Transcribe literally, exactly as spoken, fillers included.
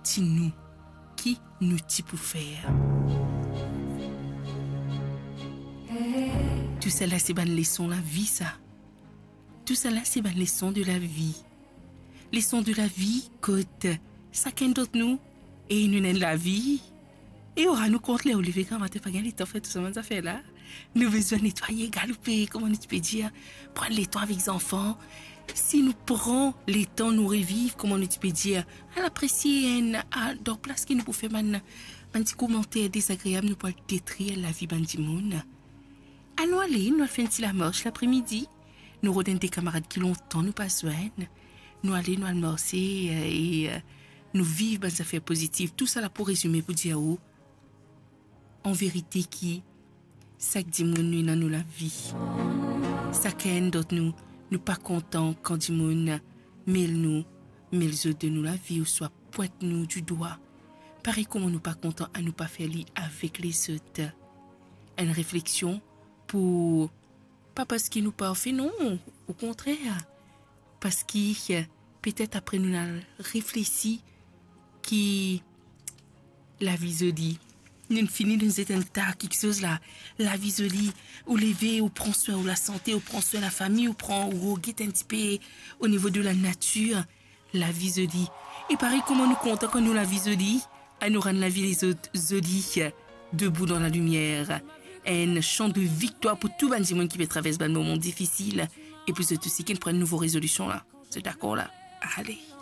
ti nou ki nou ti pou fer. Tousala se bann leson lavi sa. Tousala se bann leson de lavi. Leson de lavi kot sakenn dot nou e nou ena enn lavi. E ou rann ou kont ler ou leve gramatin, pa gagn letan fer tou sa bann zafer la. Nou bizin netwaye, galoupe, kouma nou ti pe dir, pran letan avek zanfan. Si nou pran letan, nou reviv, kouma nou ti pe dir, al apresie enn, a, dan plas ki nou pou fer bann, bann ti komanter dezagreab, nou pou al detrir lavi bann dimoun. Anou ale, nou al fer enn ti lamars lapremidi. Nou rod enn de kamarad ki lontan nou pa zwenn. Nou ale, nou al marse, e, e, nou viv bann zafer pozitif. Tousala pou rezime pou dir ou, an verite, ki sak dimoun nou ena nou lavi. Sakenn dot nou, nou pa kontan kan dimoun mel nou, mel zot de nou lavi, ouswa pwint nou didwa. Parey kouma nou pa kontan, anou pa fer li avek lezot. Enn refleksion pou, pa parski nou parfe, non, okontrer, parski, eh, petet apre nou al reflesi ki lavi zoli. Nou fini, nou zet enn ta kiksoz la. Lavi zoli, ou leve, ou pran swin ou lasante, ou pran swin lafami, ou pran, ou get enn tipe o nivo de lanatir. Lavi zoli. E parey kouma nou kontan kan nou lavi zoli, anou rann lavi lezot zoli, debout dans la lumière. Enn san de viktwar pou tou bann dimoun ki pe travers bann moman difisil, e pou zot osi ki pran enn nouvo rezolision la. Zot dakor la? Ale.